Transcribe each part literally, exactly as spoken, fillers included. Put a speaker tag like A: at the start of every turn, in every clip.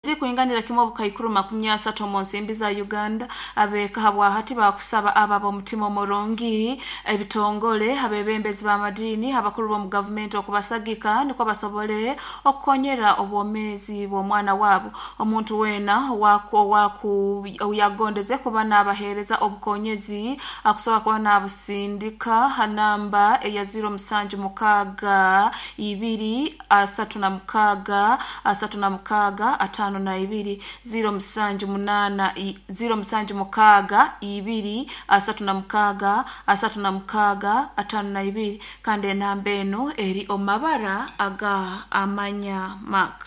A: Zikuinganira kimwe obukaikuru makumi asatu omu nsimbi za Uganda abeeka habwahati bakusaba abo ab'omutima omurungi, ebitongole, abebembezi b'amadiini, abakuru b'omu gavumenti okubasagika nikwo basobole okukonyera obwomeezi bw'omwana waabo. Omuntu weena owakugondeze kuba n'abaheereza obukonyezi akusobola kuba n'abusindika ha namba eya ziro musanju mukaaga ibiri asatu na mukaaga asatu na mukaaga ataano na ibiri, ziro musanju munaana ziro musanju mukaaga ibiri asatu na mukaaga asatu na mukaaga ataano na ibiri, kandi enamba enu eri omu mabara aga amanya maka.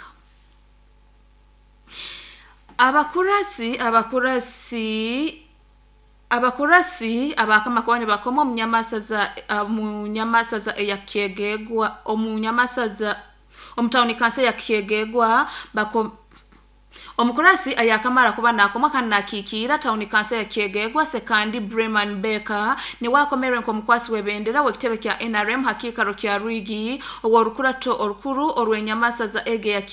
A: Abakurasi abakurasi abakurasi abakama kuba nibakoma omu nyamasaza omu nyamasaza eyakyegegwa omu nyamasaza omu tawuni kanso eyakyegegwa bako omukurasi ayakamara kuba nakoma kandi nakikiira tawuni kanso yakyegegwa Sekandi Breman Baker niwe akomerwe nk'omukwasi w'ebendera w'ekitebe kya N R M hakiikaro kya Rwigi ow'orukurato orukuru orw'enyamasaza ege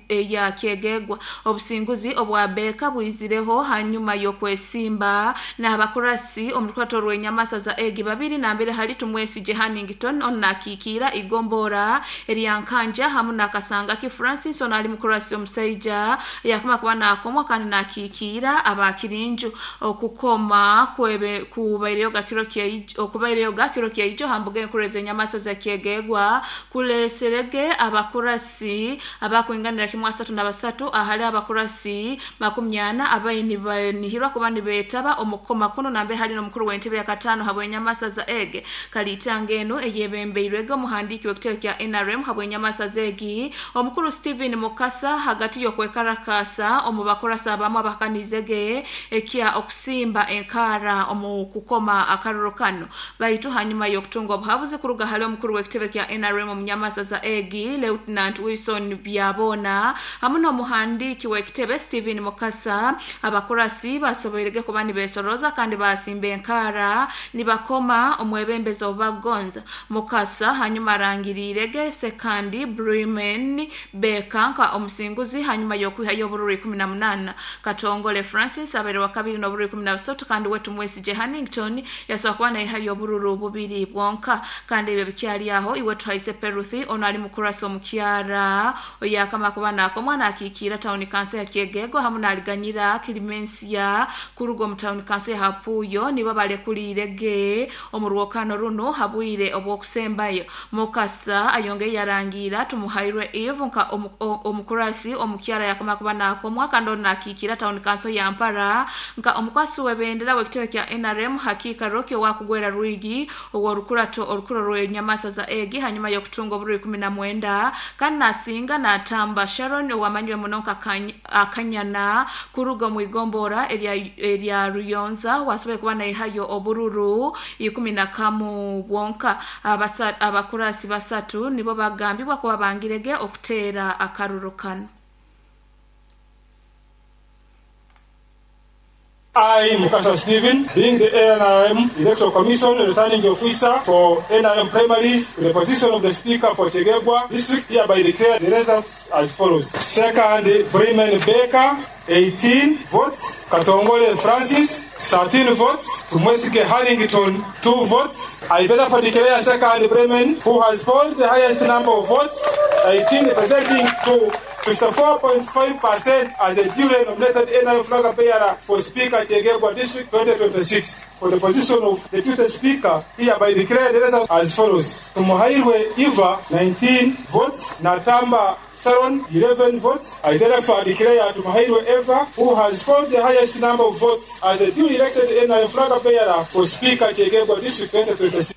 A: eyakyegegwa. Obusinguzi obwa Baker bwizireho hanyuma y'okwesimba n'abakurasi omu rukurato rw'enyamasaza egi babiri nambere hali Tumwesigye Hannington onu nakikiira igombora eryankanja hamu n'Akasangaki Francis onu ali mukurasi omusaija yakama kuba nakomwa kandi nakikiira abakirinju. Okukoma kwebe kubaireyo gakiro kya okubaireyo gakiro kya ijo hambuga enkuru ez'enyamasa za kyegegwa kuleserege abakurasi abakuinganira kimwe asatu na basatu ahali abakurasi makumi ana abaini banihirwa kuba nibetaba omukoma kuno nambe hali n'omukuru w'entebe ya katano habw'enyamasa za ege kalitanga eno eyebembeirwege omuhandiiki w'ekitebe kya N R M habw'enyamasa zegi omukuru Stephen Mukasa hagati y'okwekaraka omu bakurasa abamu abakanizege ekya okusimba enkara omu kukoma akaruru kano. Baitu hanyuma y'okutunga obuhabuzi kuruga hali omukuru w'ekitebe kya N R M omu nyamasa za egi Lieutenant Wilson Byabona hamu n'omuhandiiki w'ekitebe Stephen Mukasa, abakurasi basoboirege kuba nibesoroza kandi basimba enkara nibakoma omwebembezi obagonza. Mukasa hanyuma arangirirege Sekandi Bremen Baker nka omusinguzi hanyuma y'okwihayo obururu ikumi na munana. Katongole Francis abaire wa kabiri n'obururu ikumi na busatu kandi we Tumwesigye Hannington yasobola kuba naihayo obururu bubiri bwonka. Kandi ebyo bikyali aho iwe Tuhaise Peruthi ono ali mukurasi omukyara oyakama kuba nakomwa nakikiira tawuni kanso ya Kyegegwa hamu n'aliganyira Kilimensia kuruga omu tawuni kanso ya Hapuyo nibo balekuliirege omu rwokano runo habwire obw'okusembayo. Mukasa ayongeye yarangira Tumuhairwe Eve nka omukurasi omukyara yakama kuba nakomwa kandi ono nakikiira tawuni kanso ya Mpara nka omukwasi w'ebendera w'ekitebe kya N R M hakiikaro ky'owakugwera Rwigi ow'orukurato orukuru rw'enyamasa za egi hanyuma y'okutunga obururu ikumi na mwenda kandi nasinga natamba Sharon owamanyirwe muno nka Akanyana kuruga omu igombora erya Ruyonza wasoboire kuba naihayo obururu ikumi na kamu bwonka. Abakurasi basatu nibo bagambibwa kuba bangirege okuteera akaruru kano.
B: I, Mukasa Stephen, being the N R M Electoral Commission returning officer for N R M primaries, the position of the Speaker for Kyegegwa District, hereby declare the results as follows. Second, Bremen Baker, eighteen votes. Katongole Francis, thirteen votes. Tumwesigye Hannington, two votes. I therefore declare Second Bremen, who has polled the highest number of votes, eighteen, representing to fifty-four point five percent as a duly nominated N R M flag bearer for Speaker Kyegegwa District twenty twenty-six. For the position of Deputy Speaker, hereby declare the results as follows. Tumuhairwe Eva, nineteen votes. Natamba Sharon, eleven votes. I therefore declare Tumuhairwe Eva, who has scored the highest number of votes as a duly elected N R M flag bearer for Speaker Kyegegwa District twenty twenty-six.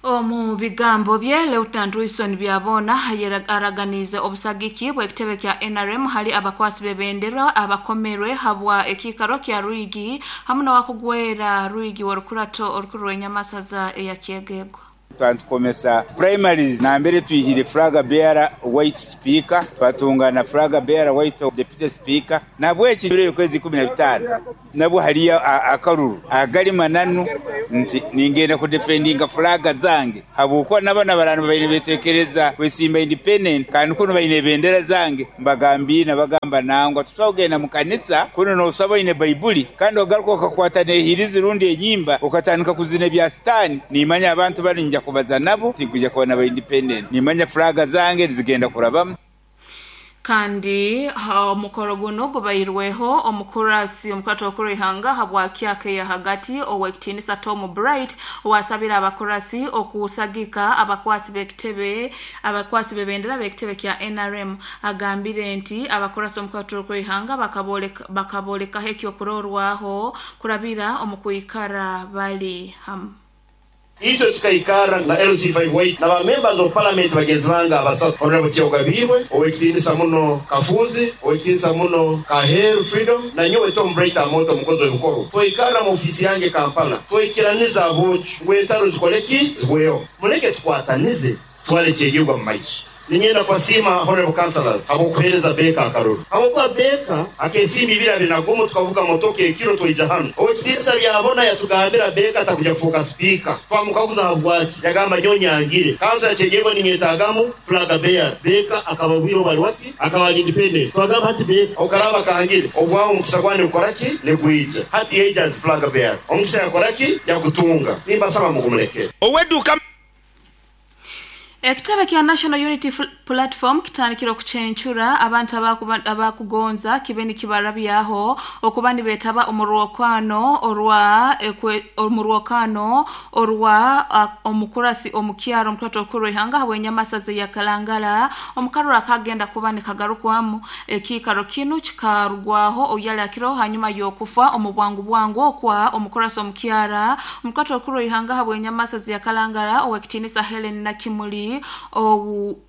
A: Omu bigambo bye Lieutenant Wilson Byabona araganize obusagiki bw'ekitebe kya N R M hali abakwasi b'ebendera abakomerwe habwa ekiikaro kya Rwigi hamu n'owakugwera Rwigi w'orukurato orukuru rw'enyamasaza eyakyegegwa.
C: Twantukomesa primaries nambere twihire flag bearer white speaker, twatungana flag bearer white deputy speaker, nabweki bire kwezi kumi na bitano nabwo haliya akaruru agali mananu nti Ningenda kudefendinga flaga zange habwokuba n'abana barano baine betekereza kwesimba independent kandi kuno baine bendera zange mbagambire nabagamba nangwa tutagenda mu kanisa kuno nosaba ine Baibuli kandi ogaruka okakwata nehirizi rundi enyimba okatandika kuzina ebya sitani. Nimanya abantu bari nja kubaza nabo tinkuja kubona ba independent. Nimanya flaga zange zigenda kurabamu.
A: Kandi omukoro guno gubairweho omukurasi omukwata okuru ihanga habwakyake ya hagati owekitiinisa Tom Bright owasabira abakurasi okusagika abakwasi b'ekitebe abakwasi b'ebendera b'ekitebe kya N R M. Agambire nti abakurasi omukwata okuru ihanga bakaboleka bakabolekaho ekyokurorwaho kurabira omukuikara bali hamu.
D: Itwe tukaikara na L C five eight na ba members of parliament bagenzi bange abasatu, Honorable Kyogabirwe, owekitiinisa muno Kafuzi, owekitiinisa muno Kaheru Freedom na nyowe Tom Bright Amoto mukozi w'ebikoro. Twaikara mu ofisi yange Kampala, twaikiraniza aboki ngu entaro zikoleki zigweho, muleke tukwatanize twale Kyegegwa mu maiso. Ninyenda kwasima honorable councillors abokuhereza Beka akaruru habwokuba Beka akesimba ibiri abiri na gumu tukavuga motoka ekiro twija hano. Owekitiinisa byabona yatugambira Beka atakuja kufuuka speaker, twamukaguza habwaki, yagamba nyonyangire kanso ya Kyegegwa ninyetagamu flag bearer. Beka akababwira bali waki akaba independent, twagamba hati Beka okaraba kangire obwawo omukisa gwani ukoraki nigwija hati yeja flag bearer omukisa yakoraki yakutunga nimbasaba mugumulekere
E: oweduka.
A: Ekitebe kya National Unity Platform kitandikira okucencura abantu abakugonza kibe nikibarabyaho okuba nibetaba omurwokano orwa omurwokano orwa omukurasi omukyaro omukwata okuru ihanga habwenyamasaze ya Kalangala omukarura akagenda kuba nikagarukwamu ekikaro kinu kikarugwaho oyali akiro hanyuma yokufa omubwangu bwangu okwa omukurasi omukyara omukwata okuru ihanga habwenyamasaze ya Kalangala owekitinisa Helen Nakimuli owu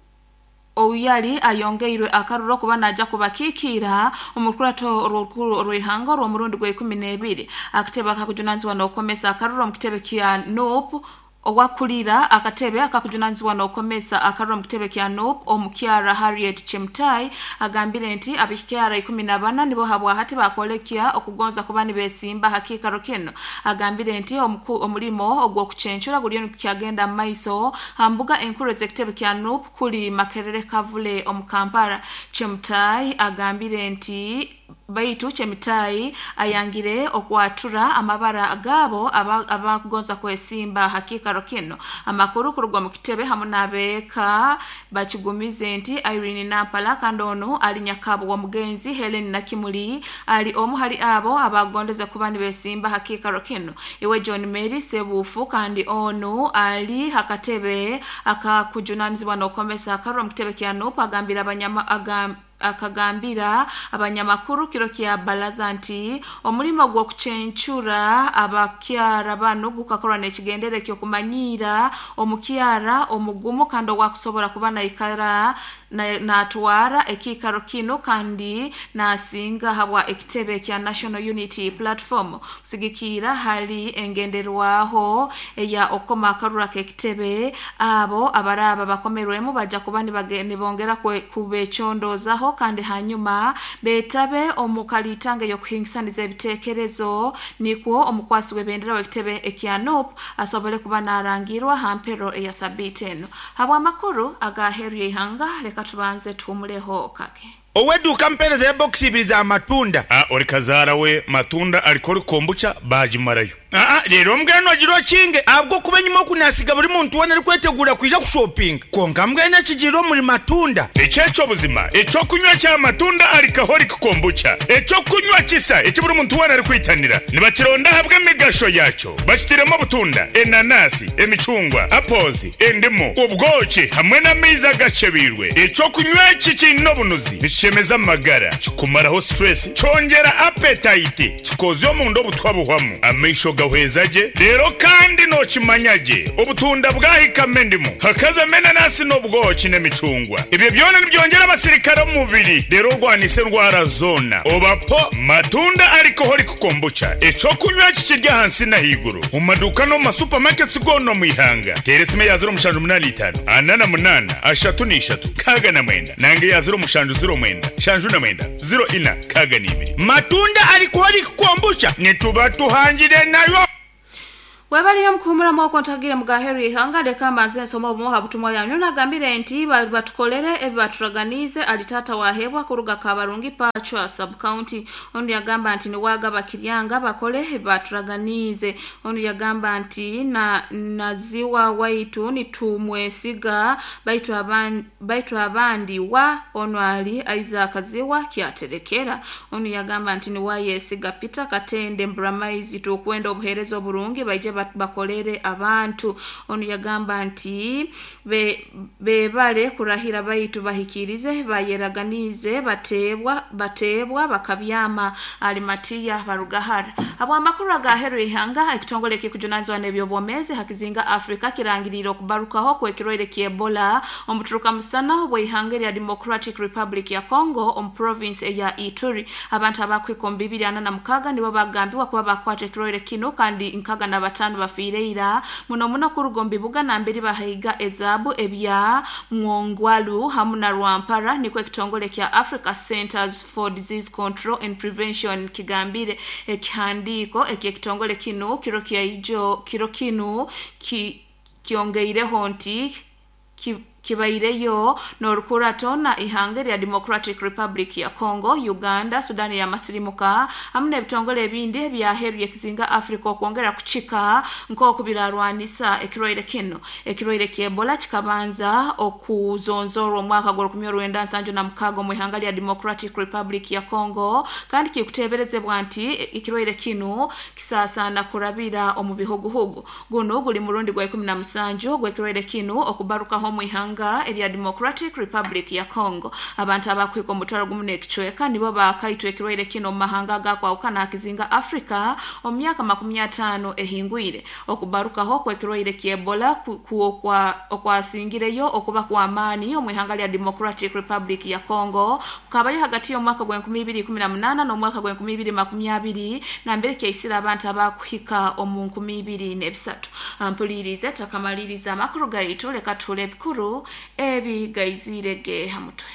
A: oyali ayongeirwe akaruro kuba naja kubakikira omukurato orukuru orwihanga orw'omurundi gwa ikumi n'ebiri. Akatebe akakujunanizibwa n'okukomesa akaruro mu kitebe kya N U P owakulira akatebe akakujunanizibwa n'okukomesa akaruro mu kitebe kya N U P omukyara Harriet Chemtai agambire nti abikyara ikumi na bana nibo habwa hati bakolekya okugonza kuba nibesimba hakikaro kino. Agambire nti omulimo ogw'okucencura guliyo nikyagenda mu maiso hambuga enkuru ez'ekitebe kya N U P kuli Makerere Kavule omu Kampala. Chemtai agambire nti baitu Chemtai ayangire okwatura amabara agabo abakugonza kwesimba hakikaro kino. Amakuru kurugwa mu kitebe hamu n'abeeka bakigumize nti Irene Nampala kandi ono ali nyakabo wa mugenzi Helen Nakimuli ali omu hali abo abagondeze kuba nibesimba hakikaro kino. Iwe John Mary Sebufu kandi ono ali hakatebe akakujunanizibwa n'okukomesa akaruro mu kitebe kya N U P agambira abanyama agam akagambira abanyamakuru kiro kya balaza nti omulimo gw'okucencura abakyara bano gukakorwa n'ekigendere ky'okumanyira omukyara omugumu kandi owakusobola kuba naikara natwara ekikaro kino kandi nasinga habwa ekitebe kya National Unity Platform kusigikira hali engenderwaho eya okoma akarura k'ekitebe abo abaraba bakomerwemu baja kuba nibongera kubechondozaho kandi hanyuma betabe omukalitanga yokuhingisaniza ebitekerezo nikwo omukwasi w'ebendera w'ekitebe ekya N U P asobole kuba narangirwa hampero eya sabiti eno. Habwa makuru agaheru y'ihanga leka tubanze tuhumuleho kake.
E: Oweduka mpereza ya box ibiri za matunda.
F: Ah, ori kazara we matunda alikori kombucha bajimarayo.
E: Ah ah, rero mbweno agiro kinge abwo kuba nyuma kunasiga buri muntu wona ari kwetegura kuja ku shopping. Konka mbwene kigiro muri matunda.
F: Echecho buzima, echo kunywa cha matunda alikahori kombucha. Echo kunywa kisa, echo buri muntu wona ari kwitanira. Nibakironda habwe migasho yacho. Bakitiremo butunda, enanasi, emicungwa, apozi, endimu, ubwoki hamwe n'amiza gacebirwe. Echo kunywa kikino bunuzi. Chemeza magara, kikumaraho stress, chongera appetite, kikozyo omundo obutwabuhwamu, amaisho gahwezaje, rero kandi nokimanyaje, obutunda bwahikame endimu, hakaza menanasi n'obwoki n'emicungwa. Ebyo byona nibyongera abasirikare omu mubiri, rero orwanise endwara zona. Obapo matunda alcoholic kombucha, ekyokunywa kikirya hansi n'ahaiguru, mu maduuka no mu masupermarkets gona omu ihanga. Teera esimu ya zero mushanju munani itaano, ana na munaana, ashatu n'ishatu, nkaaga na mwenda, nange ya zero mushanju zero mwenda, shanju na mwenda, zero ina, kaga n'ibiri.
E: Matunda alcoholic kombucha, nituba tuhangire nayo.
A: Webaliyo mkuhumura mwako ntagire mugaheri ihanga leka mbanze nsoma obumoha butumwa yanyu nagambire nti batukolere ebibaturaganize alitata wahebwa kuruga Kabarungi Pachwa sub county. Onu yagamba nti niwaga bakiryanga bakole ebibaturaganize. Onu yagamba nti na naziwa waitu nitumwesiga baitu abandi, baitu abandi wa onu ali Isaac Ziwa kyaterekera. Onu yagamba nti niwayesiga Peter Katende Mbramaizi tukwenda obuhereza oburungi baije bakolere abantu. Onu yagamba nti be bebale kurahira baitu bahikirize bayeraganize batebwa batebwa bakabyama Alimatiya Barugahara. Abo amakuru agaheru ihanga ekitongole kikujunanizwa n'ebyobwomezi hakizinga Afrika kirangirira okubarukaho kwekirwaire ky'Ebola omuturuka musana bw'ihanga lya Democratic Republic ya Congo omu province eya Ituri. Abantu abakwika omu bibiri ana na mukaga nibo bagambibwa kuba bakwata ekirwaire kino kandi nkaga na batano bafiireira muno muno kuruga omu bibuga nambere bahiga ezabu ebya Mwongwalu hamu na Rwampara. Nikwo ekitongole kya Africa Centers for Disease Control and Prevention kigambire. Ekihandiiko eky'ekitongole kino kiro kyaijo kiro kino ki, kyongeireho nti ki, kibaireyo n'orukurato na ihanga lya Democratic Republic ya Congo, Uganda, Sudani ya Masirimuka hamu n'ebitongole ebindi ebyaheru ekizinga Afrika okwongera kuchika nk'oku birarwanisa ekirwaire kino. Ekirwaire ky'Ebola kikabanza okuzonzorwa omwaka gwa rukumi orwenda nsanju na mukaga omu ihanga lya Democratic Republic ya Congo kandi kikuteeberezebwa nti ekirwaire kino kisaasaana kurabira omu bihuguhugu. Guno guli murundi gwa ikumi na musanju gw'ekirwaire kino okubarukaho omu ihanga erya Democratic Republic ya Congo. Abantu abakwika omutwaro gumu n'ekicweka nibo bakaitwa ekirwaire kino mu mahanga agakwawukana akizinga Afrika omu myaka makumi ataano ehingwire. Okubarukaho kw'ekirwaire ky'Ebola okwasingireyo okuba kw'amaani omu ihanga lya Democratic Republic ya Congo kukabayo hagati y'omwaka gw'enkumi ibiri ikumi na munaana n'omwaka gw'enkumi ibiri makumi abiri nambere kyaisire abantu abakuhika omu nkumi ibiri n'ebisatu. Mpulirize takamaliriza amakuru gaitu leka tuhule ebikuru ebi gaizirege hamutwe.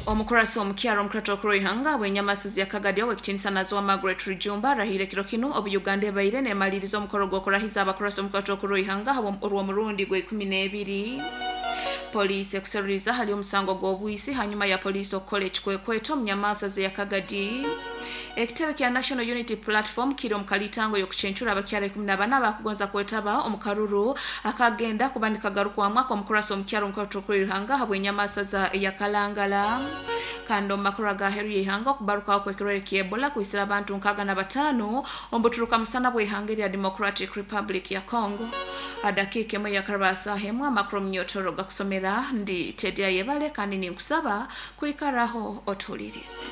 A: Omukurasi omukyaro omukrato okuroihanga bwenyamasizi yakagadi owekitinisa nazowa Margaret Rujumba rahire kiro kino obu Uganda ebaire nemaliriza omukoro gw'okurahiza abakurasi omukrato okuroihanga orw'omurundi gwa ikumi n'ebiri. Polisi ekuseruriza hali omusango gw'obwisi hanyuma ya polisi okukola ekikwekweto omu nyamasazi yakagadi. Ekitebe kya National Unity Platform kiri omu kalitango y'okucencura abakyara ikumi na bana bakugonza kwetaba omu karuru akagenda kuba nikagarukwamu ak'omukurasi omukyaro omukrato okuroihanga habw'enyamasaza eyakalangala. Kandi omu makuru agaheru y'ihanga okubarukaho kw'ekirwaire ky'Ebola kuisira abantu nkaga na bataano omu buturuka musana bw'ihanga erya Democratic Republic ya Congo. Adakiika emwe yakaraba saaha emwe amakuru omunyotoro gakusomera ndi Tedia Yebale kandi ninkusaba kwikaraho otuulirize.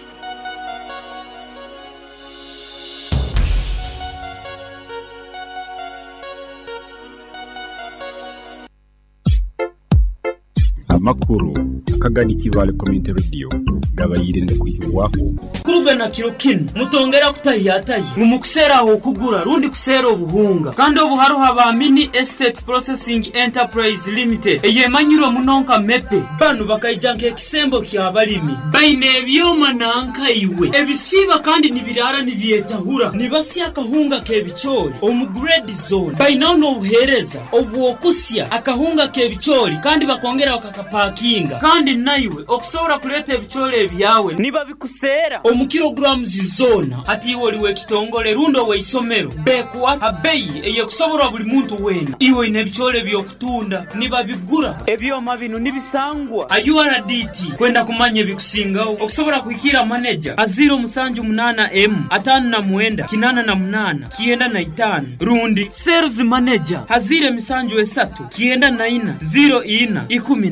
G: Amakuru akagadi Kibale Community Radio gabayire ndakwihirwako
H: kurugana kiro kino mutongera kutahiyataye mumukusera aho kugura rundi kusera obuhunga kandi obuharuha ba Mini Estate Processing Enterprise Limited eyemanyiro munonka mepe banu bakaija nk'ekisembo ky'abalimi baine ebyoma nanka iwe ebisiba kandi nibirara nibyetahura nibasya akahunga k'ebichori omu grade zone bainaho n'obuhereza obwokusya akahunga k'ebichori kandi bakongera bakakapakinga kandi naiwe okusobola kuleta ebichori ebyawe niba bikusera omu kilograms zona hati iwe oliwe ekitongole rundo weisomero bekwa abeyi eyekusoborwa buli muntu wena iwe ine ebichori byokutunda niba bigura ebyoma bino nibisangwa U R D T kwenda kumanya ebikusingaho okusobola kuhikira manager aziro musanju munana m atano na mwenda kinana na munana kienda na itano rundi sales manager hazire misanju esatu kienda na ina zero ina ikumi.